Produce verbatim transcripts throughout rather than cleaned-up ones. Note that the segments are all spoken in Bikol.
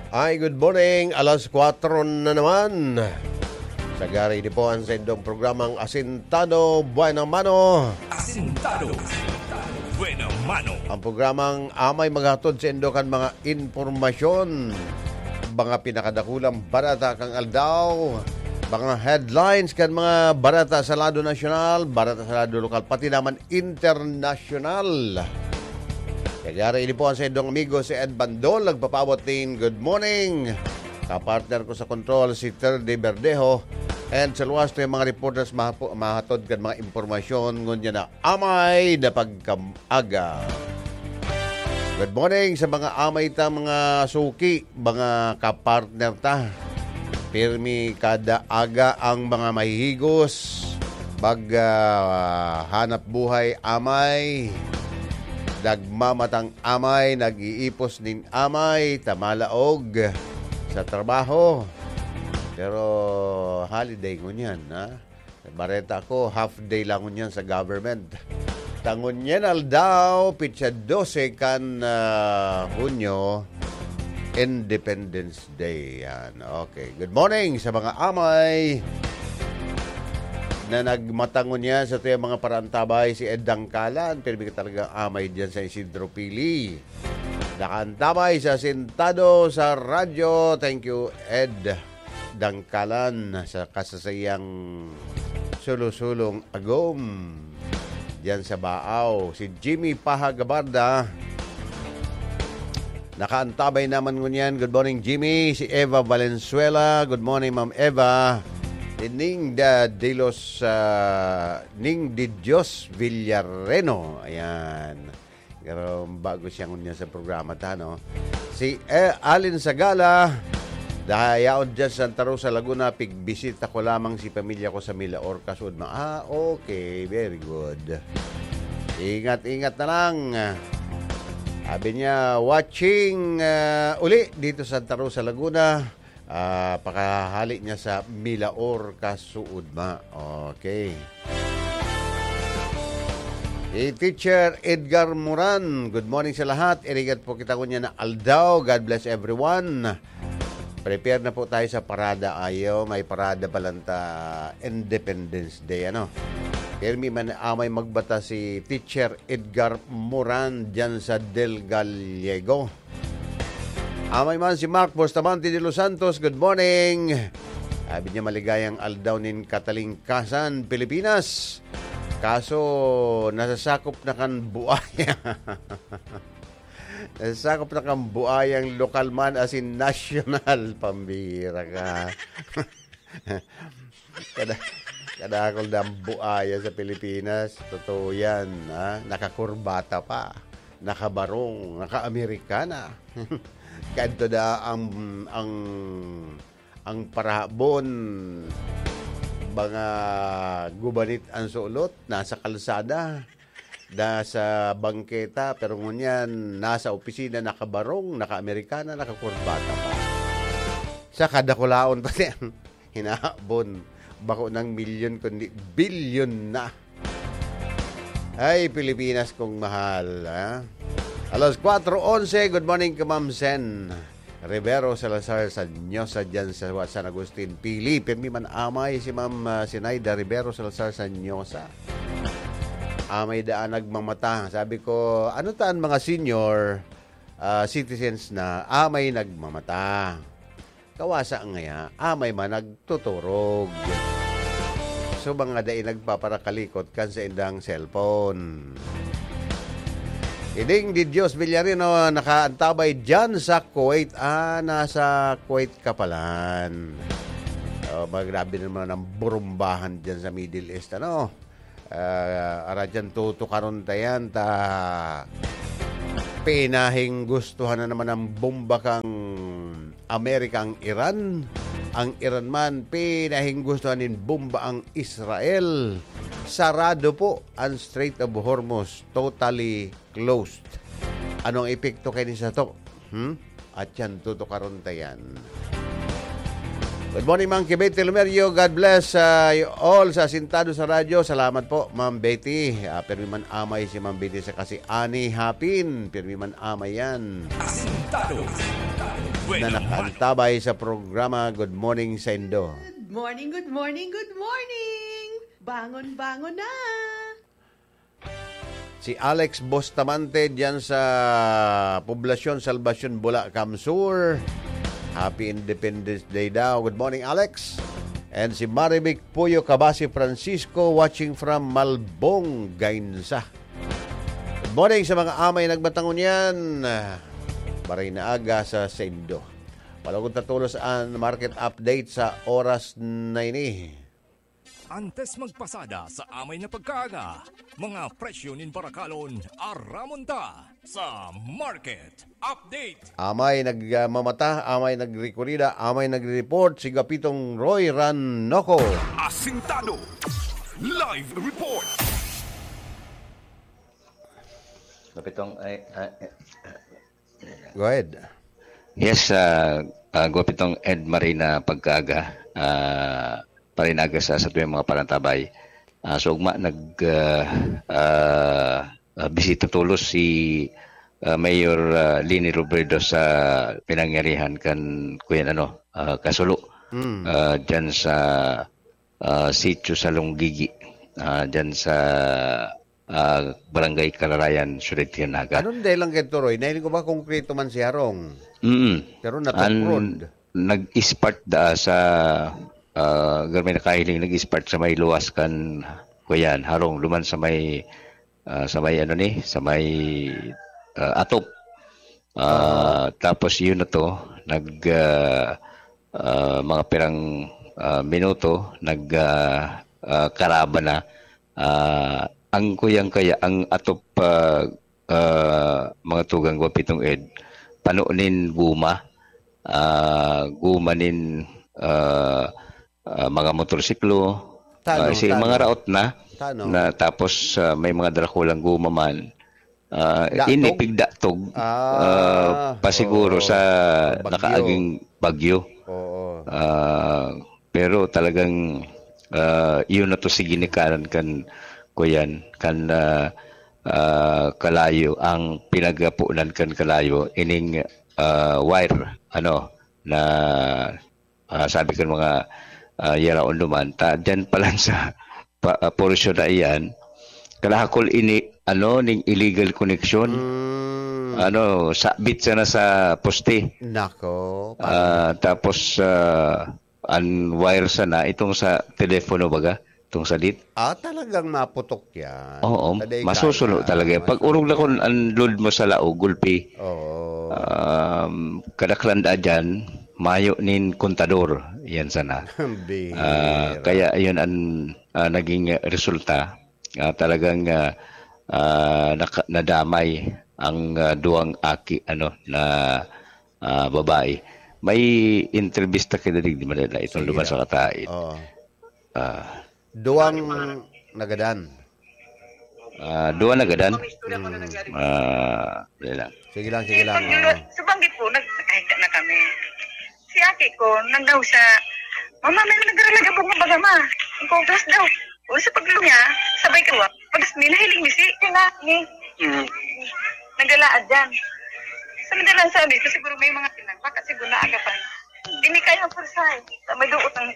Ay, good morning. Alas kwatro na naman. Sagari ini po ang saindong programang Asintado Buena Mano. Asintado Buena Mano. Ang programang amay maghatod saindo kan mga impormasyon, mga pinakadakulang barata kan aldaw, mga headlines kan mga barata sa lado nasyonal, barata sa lado lokal, pati naman internasyonal. Sagari ini po ang saindong amigo si Ed Bandol, nagpapaabot nin good morning. Kapartner ko sa control, si Ter de Verdejo. And sa luwas to yung mga reporters mahapo-, mahatod kan mga impormasyon ngunyan na amay na pagkam-aga. Good morning sa mga amay ta, mga suki, mga kapartner ta. Pirmi kada aga ang mga mahihigos, mag, ah, hanap buhay amay, nagmamatang amay, nag-iipos nin amay, ta malaog sa trabaho. Pero holiday ngunyan, ha? Bareta ko, half day lang ngunyan sa government. Ta ngunyan aldaw, pitsa dose kan, ah, Hunyo, Independence Day. Yan. Okay. Good morning sa mga amay na nagmata ngunyan sa tuyang mga paraantabay, si Ed Dangkalan. Pirmi ka talaga amay diyan sa Isidro Pili. Nakaantabay sa sentado sa radyo. Thank you, Ed Dangkalan, sa kasasayang sulo-sulong agom diyan sa Baaw. Si Jimmy Paha Gabarda, nakaantabay naman ngunyan. Good morning, Jimmy. Si Eva Valenzuela. Good morning, Ma'am Eva. Si Ning da de los, ah, Ning de Dios Villareno. Ayan. Pero bago siya ngunyan sa programa ta, no? Si, eh, Alin Sagala, dahayaon dyan sa Santa Rosa, Laguna, pigbisita ko lamang si pamilya ko sa Milaor, Kasudma. Ah, okay. Very good. Ingat-ingat na lang. Sabi niya, watching, ah, uli dito sa Santa Rosa, Laguna. Ah, pakahali niya sa Milaor, Kasudma. Okay. Si Teacher Edgar Moran, good morning sa lahat. Irigat po kita ngunyan na aldaw. God bless everyone. Prepare na po tayo sa parada. Ayo, may parada pa lang ta Independence Day, ano? Pirmi man amay magbata si Teacher Edgar Moran dyan sa Del Gallego. Amay man si Mark Bustamante de los Santos, good morning. Sabi niya, maligayang aldaw nin katalingkasan, Pilipinas. Kaso, nasasakop na kan buaya. Nasasakop na kan buayang lokal man asin nasyonal. Pambira ka. Kada, kadakol na ang buaya sa Pilipinas. Totoo yan, ha? Nakakurbata pa, nakabarong, naka-Amerikana. Kadto da ang, ang, ang parahabon, mga gubanit ang sulot, nasa kalsada, nasa bangketa, pero ngunyan, nasa opisina, nakabarong, naka-Amerikana, nakakurbata pa. Sa kadakulaon pa siya. Hinahabon. Bako ng milyon, kundi bilyon na. Ay, Pilipinas kong mahal, ha? Alas kwatro onse, good morning ka, Ma'am Sen Rivero Salazar sa Nyosa dyan sa San Agustin, Pili. Pirmi man amay si Ma'am, ah, Sinaida Rivero Salazar sa Nyosa. Amay daan nagmamata. Sabi ko, ano ta an mga senior, ah, citizens na amay nagmamata? Kawasa ngaya, amay man nagtuturog. So, mga dai nagpaparakalikot kan saindang cellphone. Iding di Dios Villarino nakaantabay dyan sa Kuwait. Ah, nasa Kuwait ka palan. Oh, ma-, grabe naman ang burumbahan dyan sa Middle East, ano? Ah, aradyan tutukaron ta yan, ta pinahinggustuhan na naman ang bomba kang Amerika ang Iran. Ang Iran man, pinahinggustuhan nin bomba ang Israel. Sarado po ang Strait of Hormuz, totally closed. Anong epekto kaini sato? Hmm? At yan, tutukaron ta yan. Good morning, Ma'am Betty Lumerio. God bless, ah, you all sa Asintado sa Radyo. Salamat po, Ma'am Betty. Ah, pirmi man amay si Ma'am Betty sa kasi Ani Hapin. Pirmi man amay yan. Tado. Na nakantabay sa programa. Good morning saindo. Good morning, good morning, good morning! Bangon, bangon na! Si Alex Bustamante diyan sa Poblacion Salvacion, Bulacan Sur. Happy Independence Day daw. Good morning, Alex. And si Marivic Puyo Kabasi Francisco, watching from Malbong, Gainza. Good morning sa mga amay nagmatangon yan. Maray na aga sa saindo. Palugod ta tolos an market update sa oras na ini. Antes magpasada sa amay na pagkaaga, mga presyo nin barakalon, aramon ta sa market update. Amay nagmamata, amay nagrekorida, amay nagre-report, si Gapitong Roy Ranoco. Asintado. Live report. Gapitong, ay, ay, ay. Go ahead. Yes, ah, ah, Gopitong Ed Marina Pagkaaga, ah, Marina Aga sa, sa tuwing mga panantabay. Ah, so, ugma, nag, ah, ah, ah, bisita tolos si, ah, Mayor, ah, Leni Robredo sa pinangyarihan kan, kuyan, ano, ah, Kasulo. Mm. Ah, dyan sa, ah, sitio sa Lunggigi. Ah, dyan sa, ah, Barangay Kalarayan, Siyudad kan Naga. Anong dahilan kay Toroy? Nahiling ko ba konkreto man si Harong? Mm. Pero An-, nag-spark da sa, ah, gamay na kahiling, nag-spark sa may luwas kan, kuyan, Harong, duman sa may, ah, sa may ano ni, sa may, ah, atop. Ah, tapos yun na to, nag, ah, ah, mga pirang, ah, minuto, nag, ah, ah, karaba na. Ah, ang kuyang kaya, ang atop, ah, ah, mga tugang ko, Pitong Ed, pano nin guma, ah, guma nin, ah, ah, mga motorsiklo, Tano, ah, si tano. mga raot na, Tano. na tapos, ah, may mga darakulang guma man. Ah, Datog? ini pigdatog, Ah, ah, pasiguro oo. sa Bagyo. nakaaging bagyo. Oo. Ah, pero talagang, ah, yun na to si ginikanan kan, kuyan, kan, ah, ah, kalayo, ang pinagapunan kan kalayo, ining, ah, wire, ano, na, ah, sabi ko mga, ah, yaraon duman, ta, dyan pa lang sa pa, ah, porsyon na iyan, kalahakol ini, ano, ning illegal connection. Mm. Ano, sabit sana sa poste. Nako, Ah, tapos, ah, ang wire sana, itong sa telepono baga, itong sa dit. Ah, talagang maputok yan. Oo, Taday masusuno kaya, talaga yan. Pag urog na masusuno. kun ang load mo sa laog, gulpi. Oo. Um, kadaklan da dyan, mayo nin kontador. Yan sana. Bihira. Ah, kaya yun ang, ah, naging resulta. Ah, talagang, ah, ah, naka-, nadamay ang, ah, duwang aki, ano, na, ah, babae. May entrevista kita digdi, Manila, itong Sige. duman sa Kataid. Oo. Ah. Duwang nagadan. Ah, duwa nagadan. Mm. Ah, dali lang. Sige lang, sige lang. Pag-, Oo. sa banggit po, nag-, nagkahigda na kami. Si aki ko, nagdaw siya, "Mama, may nagralagabog na baga, ma." Ang kugas daw. O, sa pagluto niya, sabay ka, wa-, pagas may nahiling ni si, kaya ni, Mm. nagalaad dyan. Sa madalang sabi ko, siguro may mga tinang, baka siguro naaga pa. Hindi kaya ang pursa eh. Sa may duot ang,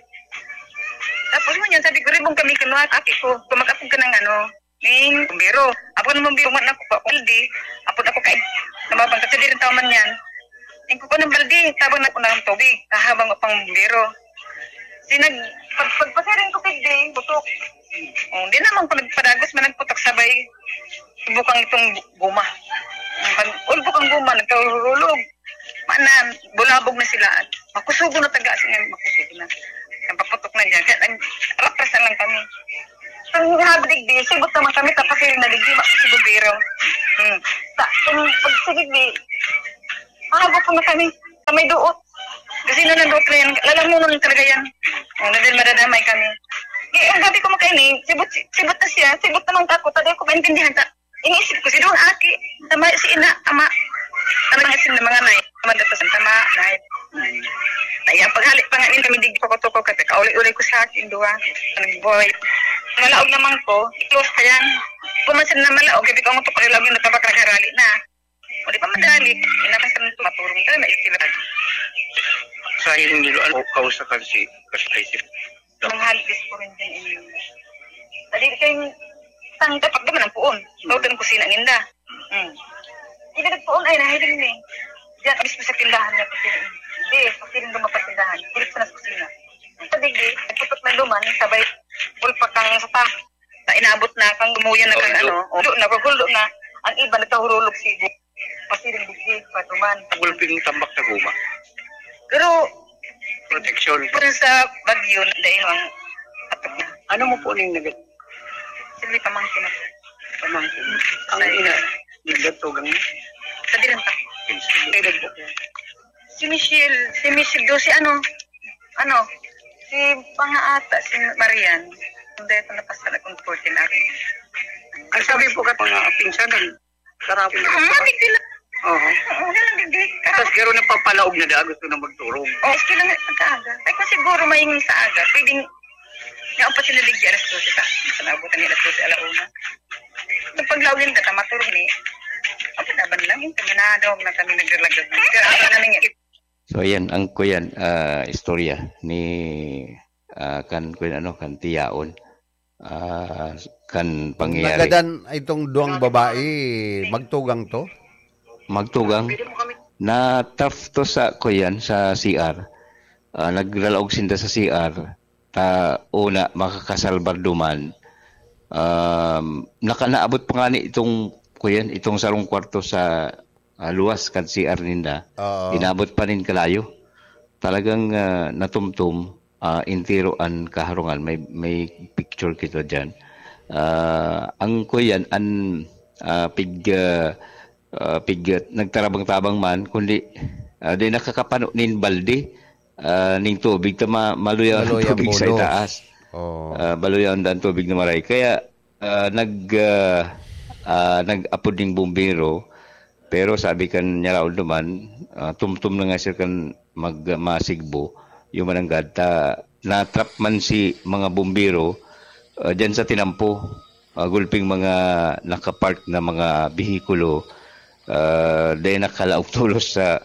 tapos mo niyan, sabi ko, "Ribong kami, kinuha, aki ko, tumakapog ka ng ano, ning bumbero." Ako ng bumbero, man ako pa, balde. Apo ako kay, namabang ka, sa dirin tao man yan. Yung kuko ng balde, tabang na ko ng tubig, kahabang ko pang bumbero. Sinag-, pag, pagpasiring ko kay Ding, putok. Oh, di naman ko nagpadagos, man nagputok sabay. Bukang itong guma. Ang pag-, ulbok ang guma, nagkahulog. Manan, bulabog na sila. Makusugo na taga, sige, makusugo na. Ang paputok na dyan. Kaya nag-, rapres na lang kami. Kung habi digdi, sibot naman kami, tapos yung naligdi, ma-, si Bubero. Hmm. Sa, kung pag si digdi, mahago po na kami. Sa may duot. Kasi na nandot na yan, lalamunan talaga yan. Oh, na din madadamay kami. Eh, ang gabi ko makaini, sibot, sibot na siya, sibot naman ako, taday ko maintindihan ta. Iniisip ko, si Dong Aki, tama si ina, ama. Ano nga sin mga nay, tama daw sa tama, nay. Ay, ang paghalik pa nga nila, hindi ko kutuko, kasi kauli-uli ko sa akin, duwa. Nagboy. Malaog naman ko, i-close pa yan. Pumansin na malaog, hindi ko ang utok ko, ilaog yung natabak, nagharali na. Kung di pa madali, inakay sa mga maturong ka, maisip. Sa hindi lo ano, kausa kan si Kasay si Mga halides ko rin din. Dali kayong tang dapat naman ang puon. Tawag ng kusina ninda. Hmm. Hindi nagpuon ay nahiling ni. Diyan, abis ko sa tindahan niya kusina. Hindi, sa piling dumapat tindahan. Pilit sa nas kusina. Sa digi, nagputok na duman, sabay, ulpak kang sa ta. Na inabot na kang dumuyan na kang Huldo. Ano, ulo na, pag huldo na, ang iba nagkahurulog sigo. Pasiring digdi, patuman. Gulping tambak na guma. Pero, Proteksyon. Pero sa Bagyo, dahil ang atok na. Ano mo po ning nag- Sige, pamangkin ako. Pamangkin. Ang ina, nagdatugang niya? Sa Diran pa. Edad po. Si Michelle, si Michelle do, si ano, ano, si Pangaata, si Marian. Hindi, ito napasal akong fourteen ako. Ang sabi po ka mga pinsanan, Karapon. Oo, mga big deal. Oo. Oo, ganun, big deal. Tapos garo nagpapalaog na da, gusto na magturog. Oo, gusto lang pagkaaga. Ay, kung siguro may sa aga, pwedeng naampat sila digdi alas dose ta. Sa naabutan nila alas dose, ala una. Nagpaglaog yun, kata maturog ni. Ang pinaban lang yun, kami na daw na kami naglalagag. Pero ang namin yun. So, yan, ang kuyan, ah, istorya ni, ah, kan, kuyan, ano, kan Tiyaon. Ah, kan pangyayari. Nagadan itong duwang babae, magtugang to? Magtugang. Na-trap to sa, kuyan, sa C R. Ah, naglalaog sinda sa C R. Ta, una, makakasalbar duman. Um, naka-, naabot pa nga ni itong, kuyan, itong sarong kwarto sa, ah, luwas kan C R ninda. Oo. Inabot pa nin kalayo. Talagang, ah, natumtum, ah, entero an kaharungan. May, may picture kita diyan. Ah, ang kuyan, an, ah, pig, ah, ah, pig, ah, nagtarabang-tabang man, kundi, ah, di nakakapano nin balde, ah, ning tubig, ta ma-, maluya ang Maluya ang tubig sa bulos. Itaas. Oo. Ah, maluya ang, ang tubig na maray. Kaya, ah, nag, ah, ah, nag-apod ning bumbero, pero sabi kan Nyaraon duman, ah, tumtum na nga siya kan mag-, masigbo, yung mananggad, ta, na-trap man si mga bumbero, ah, dyan sa tinampo, ah, gulping mga nakapark na mga behikulo, ah, dahil nakalaog tolos sa,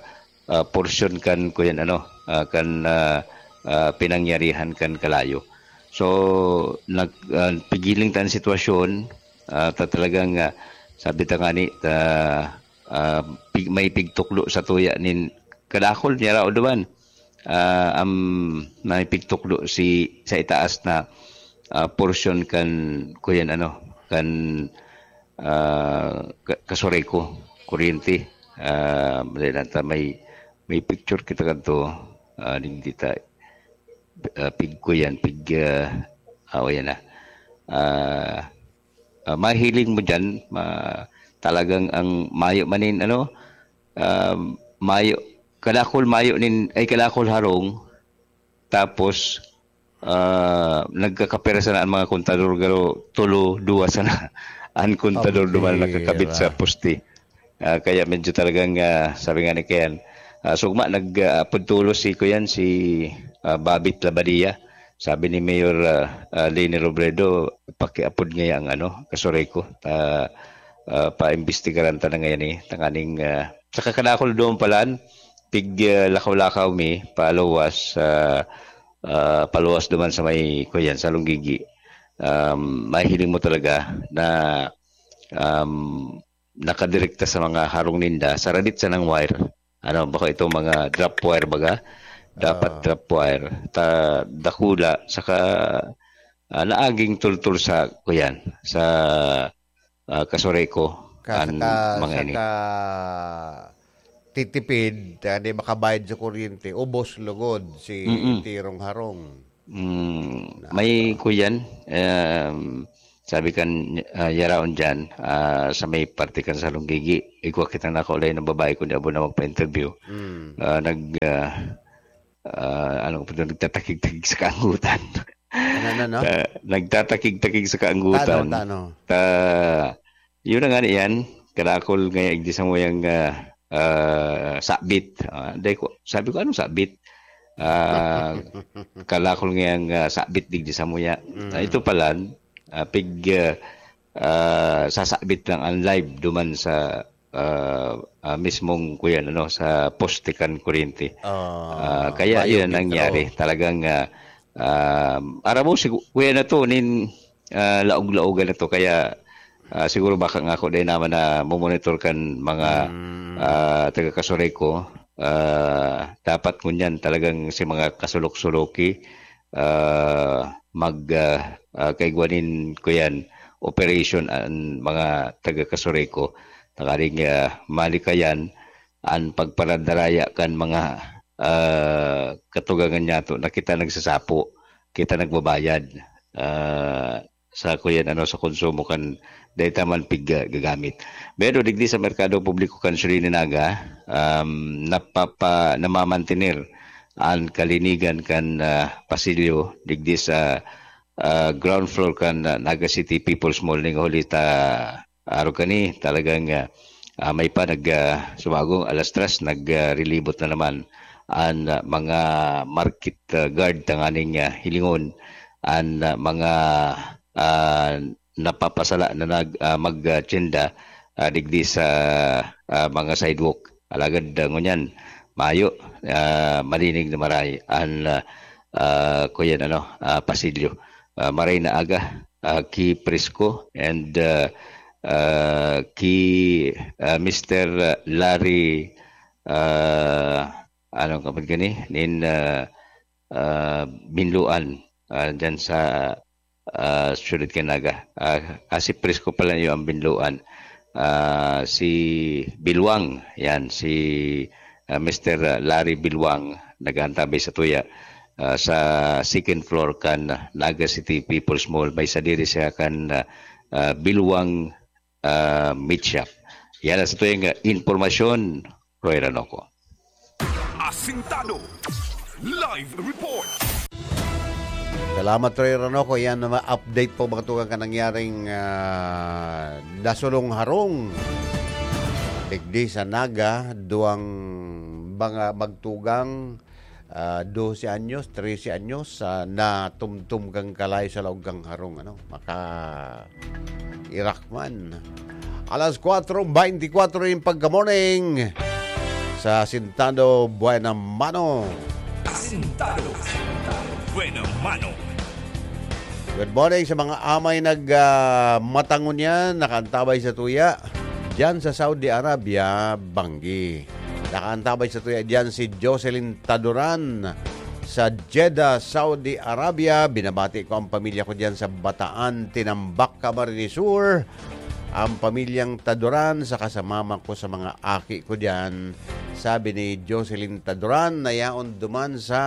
ah, porsyon kan, kuyan, ano, ah, kan, ah, ah, pinangyarihan kan kalayo. So, nag-, ah, pigiling ta an sitwasyon, ah, ta talagang, ah, sabi ta ngani, ta, ah, pig-, may pigtukdo sa tuya nin kadakol niya raw duman. Ah, am, may pigtukdo si, sa itaas na, ah, porsyon kan, kuyan, ano, kan, ah, ka-, Kasoreko, kuryente. Ah, dai lang ta may, may picture kita kadto, ah, digdi ta, ah, pig, kuyan, pig, ah, ah, o, yan na. Ah, ah, mahiling mo diyan, ma-, talagang ang mayo man nin, ano, ah, mayo, kadakol mayo nin, ay, kadakol harong, tapos, ah, nagkakapira sana ang mga kontador, garo tulo, duwa sana an kontador duman Ambira. Nakakabit sa poste. Ah, kaya medyo talagang, ah, sabi nga ni Ken, ah, sugma, nag, ah, apod tolos si, kuyan, si, ah, Babit Labadia. Sabi ni Mayor, ah, ah, Leni Robredo, pakiapod ngaya ang, ano, Kasoreko. Ah, ah, paimbestigaran ta na ngayan, eh. Tanganing, ah, sa kakadakol doon pala, pig, ah, lakaw-lakaw mi, paluwas, ah, ah, paluwas duman sa may, kuyan, sa Lunggigi. Um, mahiling mo talaga na, um, nakadirekta sa mga harong ninda, sa radit sanang wire. Ano, baka itong mga drop wire baga? Dapat Ah. drop wire. Ta, dakula, saka, ah, naaging tultul sa, kuyan, sa, ah, Kasoreko, Ka-, an saka, mga ini. Saka titipid, ah, di makabayad sa kuryente, ubos lugod si Mm-mm. Tirong Harong. Mm, Na- may kuyan, um, sabi kan, ah, Yaraon dyan, ah, sa may parte kan sa Lunggigi, igwa kitang nakaulay ng babae, kundi abo na magpa-interview. Mm. Ah, nag, ah, ah, ano ko pa doon, nagtatakig-takig sa kaanggutan. Ano, ano, no? Ah, nagtatakig-takig sa kaanggutan. Tano, tano. Ta, yun na nga yan, kadakol nga igdi sa muyang, ah, ah, sabit. Ah, dahil ko, sabi ko, "Anong sabit?" Ah, kadakol nga yung, ah, sabit digdi sa muya. Mm. Ah, ito pala, ah, pig, ah, ah, sasabit lang ang live duman sa, ah, ah, mismong kuyan, ano, sa poste kan kuryente. Ah, Ah, kaya mayo yun ang gid, nangyari. oo. Talagang, ah, ah, aram mo, si kuya na to, nin, ah, laog-laogan na to. Kaya, ah, siguro baka nga ako din naman na mumonitor kan mga, Mm. ah, taga Casureco. Ah, dapat ngunyan talagang si mga kasulok-suloki, ah, mag, ah, ah, kaigwanin ko yan, operation an mga taga Casureco. Tanganing, ah, malikayan an pagparadaraya kan mga, ah, katugangan niyato na kita nagsasapo, kita nagbabayad, ah, sa kuyan, ano, sa konsumo kan dai ta man pig, ah, gagamit. Pero digdi sa merkado publiko kan Surigao Naga, um, napapa-, namamantener an kalinigan kan, ah, pasilyo digdi sa, ah, ground floor kan, ah, Naga City People's Mall ning huli ta arog kani talagang, ah, ah, may pa nag, ah, sumagong alas tres, nag, ah, rilibot na naman an, ah, mga market, ah, guard tanganing, ah, hilingon an, ah, mga, ah, napapasala na nag, ah, mag, ah, tsinda, ah, digdi sa, ah, mga sidewalk. Alagad, ah, ngunyan, mayo, ah, malinig na maray an, ah, ah, kuyan, ano, ah, pasilyo. Ah, maray na aga, ah, ki Prisco and, ah, ah, ki, ah, Mister Larry, ah, anong kapag gani? Nin, ah, ah, Binluan, ah, dyan sa, ah, Siyudad kan Naga. Ah, ah, si Prisco pala yung ang Binluan. Ah, si Bilwang, yan, si, ah, Mister Larry Bilwang, nag-aantabay sa tuya, ah, sa second floor kan Naga City People's Mall. May sadiri siya kan, ah, ah, Bilwang, ah, Meat Shop. Yan ang sa tuyang, ah, impormasyon, Roy Ranoco. Asintado. Live report. Salamat, Roy Ranoco. Yan, mga update po, mga tugang, kan nangyaring, ah, nasulong harong. Digdi sa Naga, duwang mga magtugang, ah, dose anyos, trese anyos, ah, natumtum kang kalay sa laog kang harong, ano, maka-, irak man. Alas kwatro beintikwatro yung pagka-morning sa Asintado Buena Mano. Asintado. Buena mano. Good morning sa mga amay nag, ah, matangon yan, nakaantabay sa tuya. Diyan sa Saudi Arabia, Banggi. Nakaantabay sa tuya diyan si Jocelyn Taduran sa Jeddah, Saudi Arabia. Binabati ko ang pamilya ko diyan sa Bataan, Tinambac, Camarines Sur. Ang pamilyang Taduran, saka sa mama ko, sa mga aki ko diyan. Sabi ni Jocelyn Taduran na yaon duman sa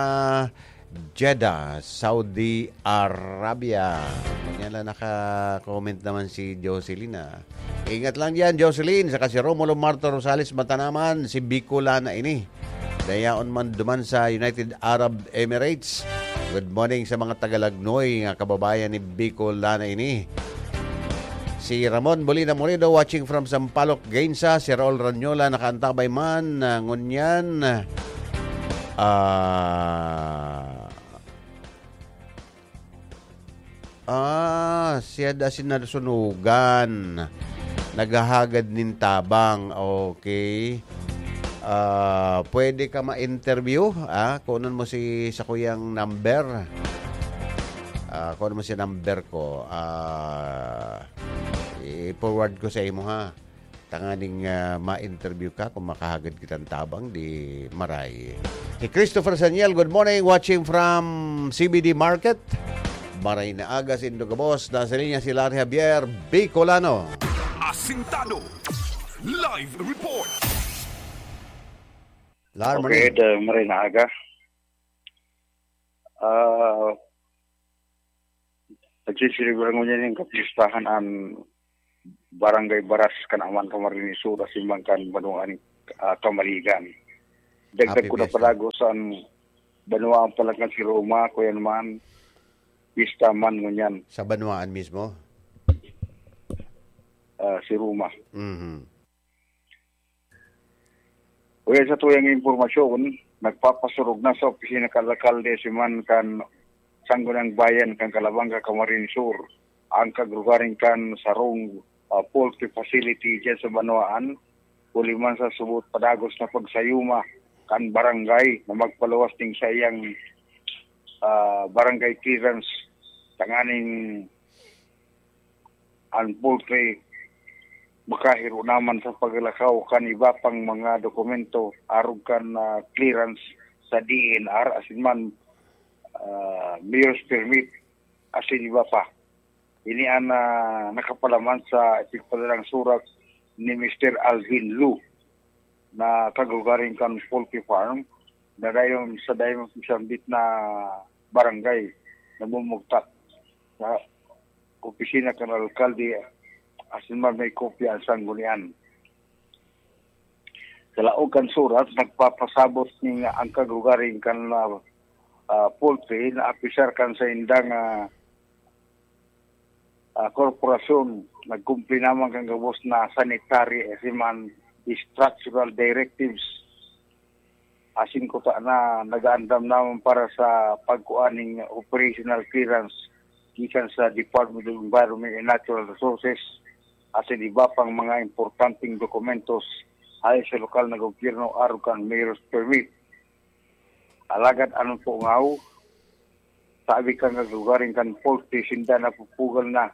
Jeddah, Saudi Arabia. Yan lang, naka-comment naman si Jocelyn, ah. Ingat lang diyan, Jocelyn, saka si Romulo Marto Rosales Matanaman, si Bicolana ini. Dayaon man duman sa United Arab Emirates. Good morning sa mga taga-Lagnoy nga kababayan ni Bicolana ini. Si Ramon Molina Morido watching from Sampaloc, Gainza. Si Raul Ranyola nakaantabay man, ah, ngunyan. Ah, ah, siya da sinasunugan. Naghahagad nin tabang. Okay. Ah, pwede ka ma-interview, ah, kunan mo si, sa kuyang number. Ah, kunan mo si number ko. Ah, i-forward ko sa imo, ha. Tanganing, ah, ma-interview ka kung makahagad kitang tabang, di maray. Si Christopher Sanyel, good morning, watching from C B D Market. Maray na aga, saindo gabos. Nasa linya si Larry Javier, Bicolano. Asintado. Live report. Larry, Okay, the maray na aga. Ah, nagsiselebrang ngunyan yung kapistahan ang Barangay Baras kan Aman Camarines Sur, asin man kan Banwaan, ah, Camaligan. Dagdag Happy ko na fiesta. Palago sa Banwaan pala kan si Roma, kuya naman, pista man ngunyan, Sa Banwaan mismo? ah, si Roma. Mhm. Kuya, sa tuyang impormasyon, nagpapasurog na sa opisina kan alkalde si man kan Sangguniang Bayan kan Calabanga, Camarines Sur, ang kagrugaring kan sarong, ah, poultry facility dyan sa Banwaan. huli man sa subot padagos na pagsayuma kan barangay na magpaluwas ning saiyang, ah, barangay clearance tanganing an poultry makahiro naman sa paglakaw kan iba pang mga dokumento arog kan, ah, clearance sa D N R asin man, ah, mayor's permit asin iba pa. Ini an, ah, nakapalaman sa ipigpadalang surat ni Mister Alvin Lu na kagrugaring kan poultry farm na dayon sa dayon sambit na barangay namumugtak sa opisina kan alkalde asin man may kopya an sanggunian. Sa laog kan surat, nagpapasabot nin ang kagrugaring kan, ah, ah, poultry na apisar kan saindang, ah, ah, korporasyon. Nagkumpli naman kan gabos na sanitary asin man structural directives. Asin kuta na nagaandam naman para sa pagkuha ning operational clearance gikan sa Department of Environment and Natural Resources asin iba pang mga importanteng dokumentos hale sa lokal na gobyerno arog kan mayor's permit. Alagad an pungaw, sabi kan kagrugaring kan poultry, sinda napupugal na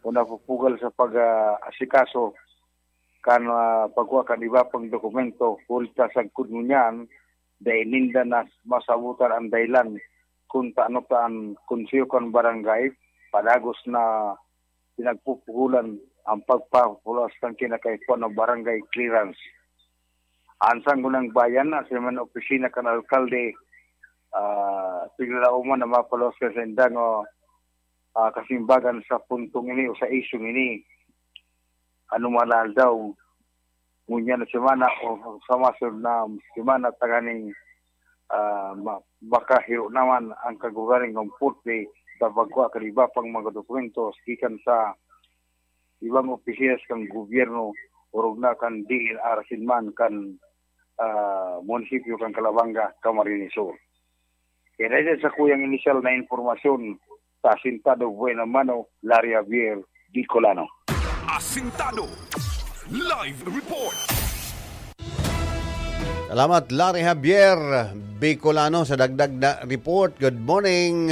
o napupugal sa pag, ah, asikaso kan, ah, pagkuha kan iba pang dokumento. Huli ta sagkod ngunyan, dai ninda na masabotan an dahilan kun tano ta an konseho kan barangay padagos na pinagpupugulan ang pagpapaluwas kan kinakaipuhan na barangay clearance. An Sangguniang Bayan, asin man opisina kan alkalde, ah, piglalauman na mapaluwas kan saindang, ah, ah, kasimbagan sa puntong ini o sa isyong ini. Ano man aldaw, ngunyan na semana o sa masunod na semana, tanganing, ah, ma-, makahiro naman ang kagrugaring kan poultry sa pagkuha kan iba pang mga dokumento gikan sa ibang opisina kan gobyerno, orog na kan D N R asin man kan, ah, munisipyo kan Calabanga, Camarines Sur. Kaya dahil sa kuyang inisyal na impormasyon, sa Asintado Buena Mano, Larry Javier, Bicolano. Asintado Live Report. Salamat, Larry Javier, Bicolano, sa dagdag na report. Good morning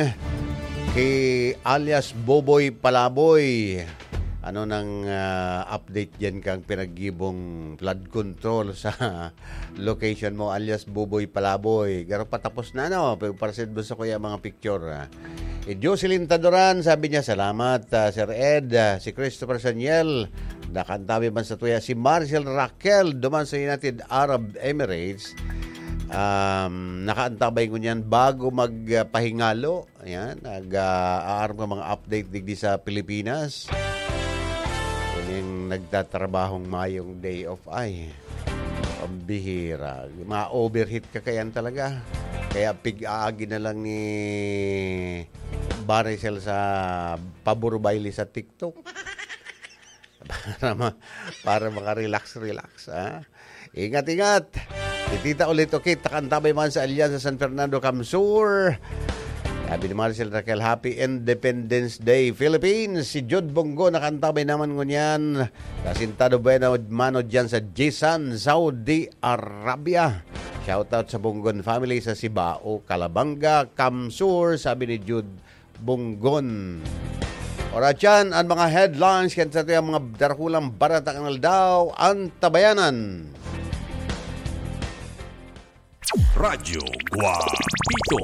kay alias Boboy Palaboy. Ano nang, ah, update diyan kang pinaggibong flood control sa location mo, alias Buboy Palaboy? Garo patapos na, no? Pero para sa mo sa kuya mga picture, ah. Si Jocelyn Tadoran, sabi niya, "Salamat, ah, Sir Ed." Ah, si Christopher Saniel, nakantabi man sa tuya. Si Marcel Raquel, duman sa United Arab Emirates, um, nakaantabay ngunyan bago magpahingalo. Ayan, nag, ah, aaram ka mga update digdi sa Pilipinas. Yan yung nagtatrabahong mayong day off ay. Pambihira. Mga overheat ka kayan talaga. Kaya pig-aagi na lang ni Baricel sa pabor baile sa TikTok. Para ma-, para makarelax-relax, ha? Ingat, ingat! Titita ulit, okay, takantabay man sa Alyansa San Fernando, Camsur. Sabi ni Marcel Raquel, "Happy Independence Day, Philippines!" Si Jude Bongo nakantabay naman ngunyan. Asintado Buena Mano dyan sa Jisan, Saudi Arabia. Shoutout sa Bongon family sa Sibao, Calabanga, Camsur, sabi ni Jude Bongon. Oras yan, ang mga headlines kan sa atuyang mga darakulang barata kan aldaw, Antabayanan. Radyo Guapito.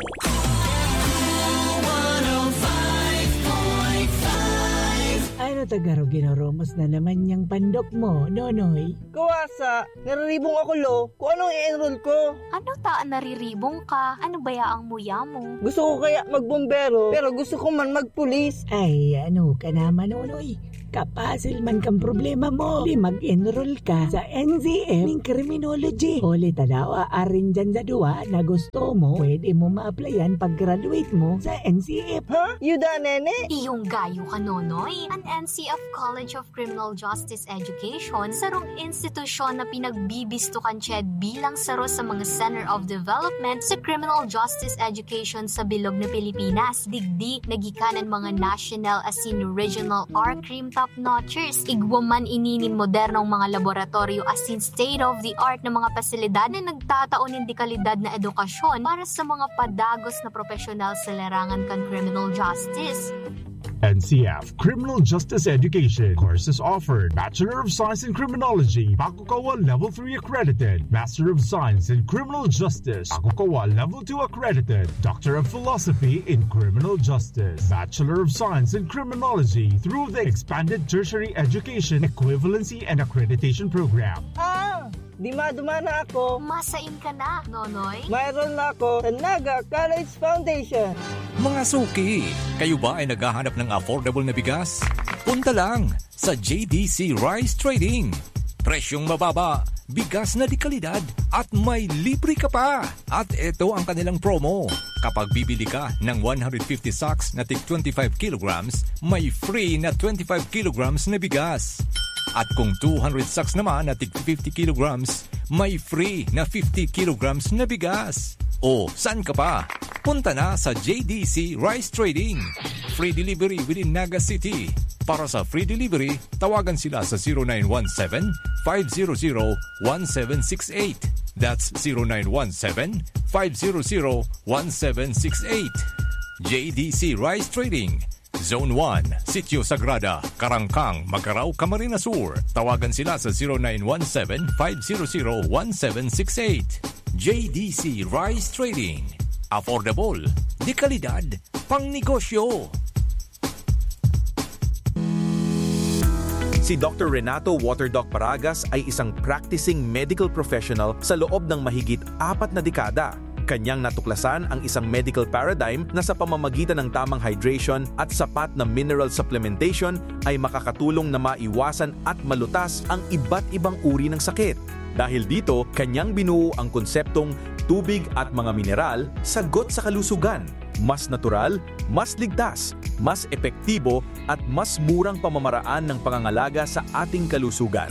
Ano ta garo ginaromos na naman niyang pandok mo, Nonoy? Kawasa, nariribong ako, lo. Kung anong i-enroll ko. Ano ta an nariribong ka? Ano baya ang muya mo? Gusto ko kaya magbombero, pero gusto ko man magpulis. Ay, ano ka naman, Nonoy? Kapasil man kang problema mo. Di mag-enroll ka sa N C F ning criminology. Huli ta daw, aarin dyan sa duwa na gusto mo, pwede mo ma-applyan pag-graduate mo sa N C F. Ha? Yuda, nene? Iyong gayo ka, Nonoy. An N C F College of Criminal Justice Education, sarong institusyon na pinagbibisto kan CHED bilang saro sa mga Center of Development sa Criminal Justice Education sa bilog na Pilipinas. Digdi, nagikanan mga national asin regional R-Crim Top notchers. Igwa man ini nin modernong mga laboratoryo asin state-of-the-art na mga pasilidad na nagtatao nin dekalidad na edukasyon para sa mga padagos na profesional sa larangan kan criminal justice. N C F, Criminal Justice Education. Courses offered: Bachelor of Science in Criminology, Bakukawa Level three accredited, Master of Science in Criminal Justice, Bakukawa Level two accredited, Doctor of Philosophy in Criminal Justice, Bachelor of Science in Criminology through the Expanded Tertiary Education Equivalency and Accreditation Program. Ah! Dima-duma na ako. Masain ka na, Nonoy? Mayroon na ako sa Naga College Foundation. Mga suki, kayo ba ay naghahanap ng affordable na bigas? Punta lang sa J D C Rice Trading. Presyong mababa, bigas na de kalidad, at may libre ka pa! At ito ang kanilang promo. Kapag bibili ka ng one hundred fifty sacks na tig twenty-five kilograms, may free na twenty-five kilograms na bigas. At kung two hundred sacks naman na tig fifty kilograms, may free na fifty kilograms na bigas. O, saan ka pa? Punta na sa J D C Rice Trading. Free delivery within Naga City. Para sa free delivery, tawagan sila sa zero nine one seven, five zero zero, one seven six eight. That's zero nine one seven, five zero zero, one seven six eight. J D C Rice Trading, Zone one, Sitio Sagrada, Karangkang, Magarao, Camarines Sur. Tawagan sila sa zero nine one seven, five zero zero, one seven six eight. J D C Rice Trading. Affordable, de kalidad, pang negosyo. Si Doctor Renato Waterdoc Paragas ay isang practicing medical professional sa loob ng mahigit apat na dekada. Kanyang natuklasan ang isang medical paradigm na sa pamamagitan ng tamang hydration at sapat na mineral supplementation ay makakatulong na maiwasan at malutas ang iba't ibang uri ng sakit. Dahil dito, kanyang binuo ang konseptong tubig at mga mineral, sagot sa kalusugan. Mas natural, mas ligtas, mas epektibo at mas murang pamamaraan ng pangangalaga sa ating kalusugan.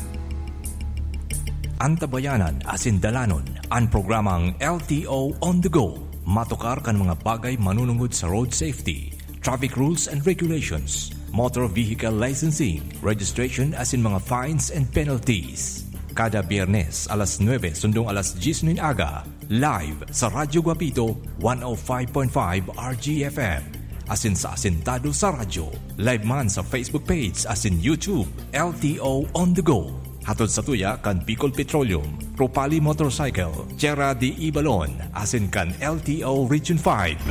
Antabayanan asin dalanon an programang L T O On The Go. Matukar kan mga bagay manunungod sa road safety, traffic rules and regulations, motor vehicle licensing, registration asin mga fines and penalties. Kada Biyernes alas nuebe sundong alas dyes nin aga, live sa Radyo Guapito one oh five point five R G F M. Asin sa Asintado sa Radyo. Live man sa Facebook page asin YouTube, L T O On The Go. Hatod sa tuya kan Bicol Petroleum, Propali Motorcycle, Tierra de Ibalon, asin kan L T O Region five.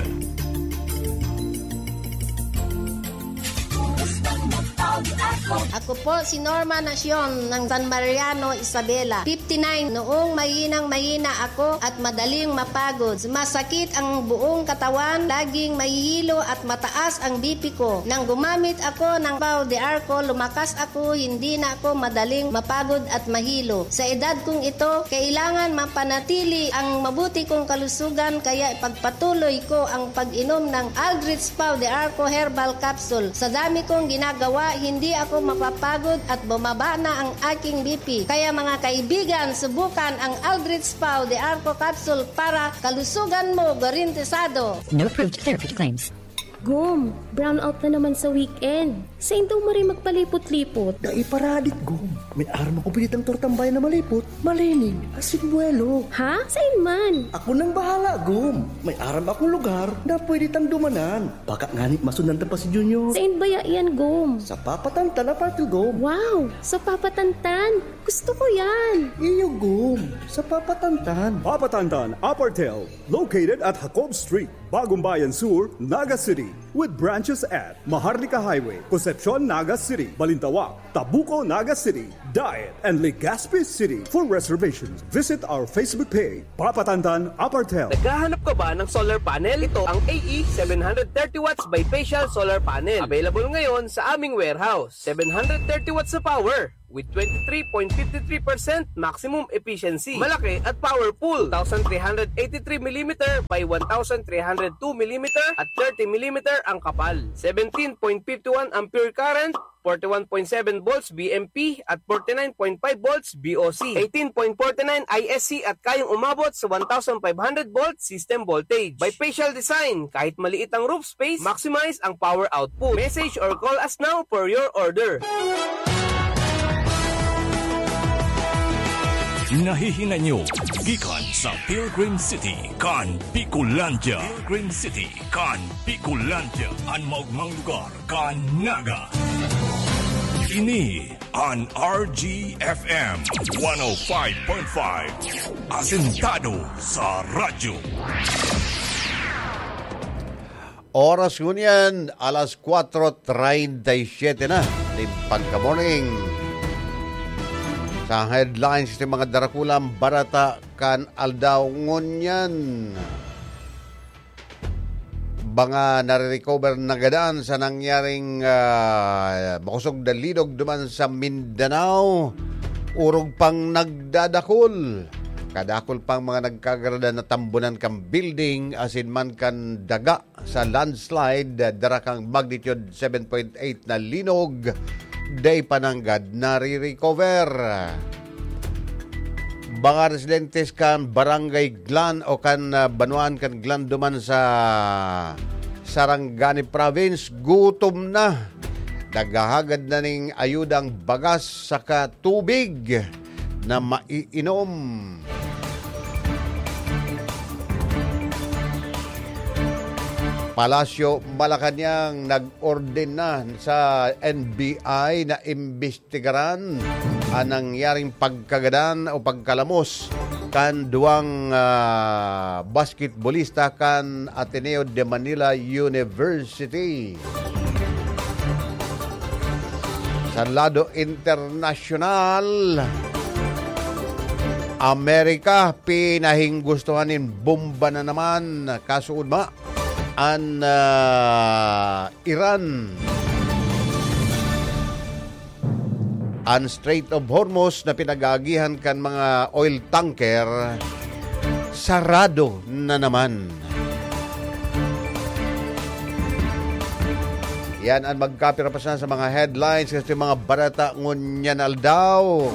Ako po si Norma Nacion ng San Mariano, Isabela. Fifty-nine, noong mahinang mahina ako at madaling mapagod. Sumasakit ang buong katawan, laging mahihilo at mataas ang B P ko. Nang gumamit ako ng Pau de Arco, lumakas ako, hindi na ako madaling mapagod at mahilo. Sa edad kong ito, kailangan mapanatili ang mabuti kong kalusugan, kaya ipagpatuloy ko ang pag-inom ng Aldrich Pau de Arco Herbal Capsule. Sa dami kong ginagawa, hindi ako mapapagod at bumaba na ang aking B P. Kaya mga kaibigan, subukan ang Aldrich Pau de Arco Capsule para kalusugan mo garantisado. No approved therapy claims. Gom, brownout na naman sa weekend. Sain daw maray magpalipot-lipot? Dai paradit, Gom. May aram ako pinitang tortang bayan na malipot, malinig, asin buwelo. Ha? Sain man? Ako nang bahala, Gom. May aram akong lugar na pwede tang dumanan. Baka ngani masundan ta pa si Junior. Sain baya iyan, Gom? Sa Papatantan, Apartel, Gom. Wow! Sa Papatantan? Gusto ko yan! Iyo, Gom. Sa Papatantan. Papatantan, Apartel. Located at Jacob Street, Bagong Bayan Sur, Naga City. With branches at Maharlika Highway, Concepcion, Naga City, Balintawak, Tabuco, Naga City, Daet, and Legazpi City. For reservations, visit our Facebook page, Papatantan Apartel. Naghahanap ka ba ng solar panel? Ito ang A E seven hundred thirty watts bifacial solar panel. Available ngayon sa aming warehouse. Seven hundred thirty watts na power. with twenty-three point fifty-three percent maximum efficiency. Malaki at powerful, two thousand three hundred eighty-three millimeter by one thousand three hundred two millimeter at thirty millimeter ang kapal. Seventeen point fifty-one ampere current, forty-one point seven volts B M P at forty-nine point five volts B O C, eighteen point forty-nine I S C at kayang umabot sa one thousand five hundred volt system voltage. Bifacial design, kahit maliit ang roof space, maximize ang power output. Message or call us now for your order. Nahihinay nyo gikan sa Pilgrim City kan Bicolandia. Pilgrim City kan Bicolandia, an maogmang lugar kan Naga. Ini an R G F M one oh five point five, asentado sa radyo. Oras ngunyan, alas kwatro treinta y siete na nin pagka-morning. Sa headlines nin mga darakulang barata kan aldaw ngunyan, mga nare-recover na gadan sa nangyaring ah, makosog na linog duman sa Mindanao, orog pang nagdadakul. Kadakul pang mga nagkagaradan na tambunan kan building asin man kan daga sa landslide, dara kan magnitude seven point eight na linog, dai pa nanggad nare-recover. Mga residentes kan Barangay Glan o kan ah, banwaan kan Glan duman sa Sarangani Province, gutom na. Naghahagad na ning ayudang bagas saka tubig na maiinom. Palasyo, Malacañang nag-ordena sa N B I na imbestigaran an nangyaring pagkagadan o pagkalamos kan duwang ah, basketbolista kan Ateneo de Manila University. Sa lado internasyonal, Amerika, pinahinggustohan nin bomba na naman, kasuodma an ah, Iran. An Strait of Hormuz na pinag-aagihan kan mga oil tanker, sarado na naman. Yan an magkapira pa sa mga headlines kan mga barata ngunyan aldaw.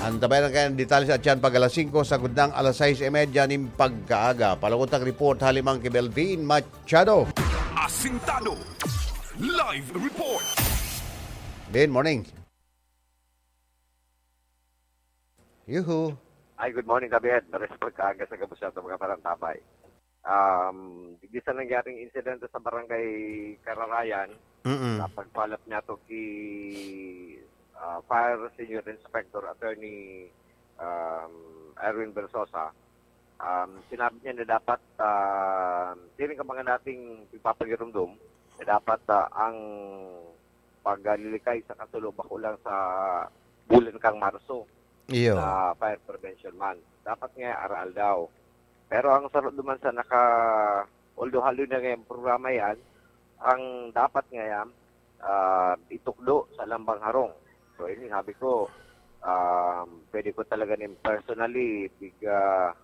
Antabayan ang kayang detalye sa atyan pag alas singko, sagkod nang alas sais y media nin pagkaaga. Palakutang report hali man ki Belvin Machado. Asintado. Live report. Ben, morning. Yuhu. Ay, good morning, Kabihet. Maris pagkaaga sa gabos sa mga parantabay. Um, digdi sa nangyaring insidente sa barangay Kararayan, Mm-mm. sa pagpalap niya to ki ah, Fire Senior Inspector Attorney um, Erwin Versosa, um, sinabi niya na dapat uh, siring ka mga nating ipapagirumdom na dapat ah, ang paglilikay sa kasulo bako lang sa bulan kang Marso Iyo. sa Fire Prevention Month. Dapat nga aral daw. Pero ang sarod duman sa naka, although haloy na ngayong programa yan, ang dapat ngayon, ah, itukdo sa lambang harong. So, ini sabi ko, um, pwede ko talaga nin personally, big, ah,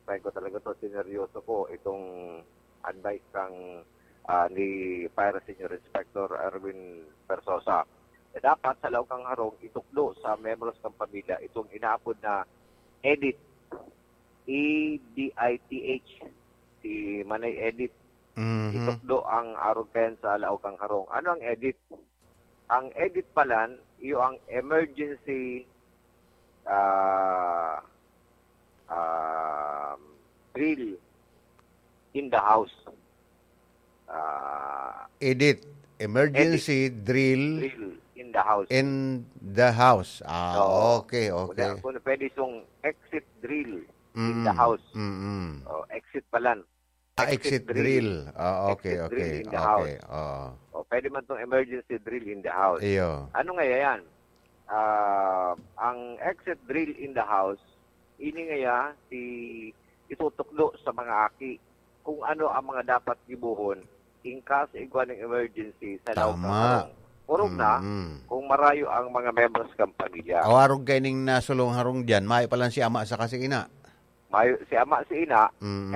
pwede ko talaga to, sineryoso ko itong advice kang ah, ni Fire Senior Inspector Erwin Persosa. Eh, dapat sa laog kang harong, itukdo sa membros kang pamilya itong inaapod na edit, E D I T H, si Manay Edit. Mhm. Itukdo ang arog kayan sa laog kang harong. Ano ang edit? Ang edit pala, iyo ang emergency ah ah, drill in the house. Ah, Edit. Emergency drill drill in the house. in the house. Ah, Oo. okay, okay. Kung, kung pwede itong exit drill in Mm-mm. the house. Mm-mm. Oh, exit pala. Ah, exit drill. Ah, okay, Exit okay. drill in the Okay. house. Oh. O pwede man itong emergency drill in the house. Iyo. Ano nga yan? Ah, ang exit drill in the house, ini nga ya, si itutukdo sa mga aki kung ano ang mga dapat gibohon in case igwa ng emergency sa laog kang Tama. harong. Orog na, Mm. kung marayo ang mga membros kan pamilya. O, arog kaining nasulong harong diyan, mayo pa lang si ama saka si ina. Mayo si ama, si ina, Mm.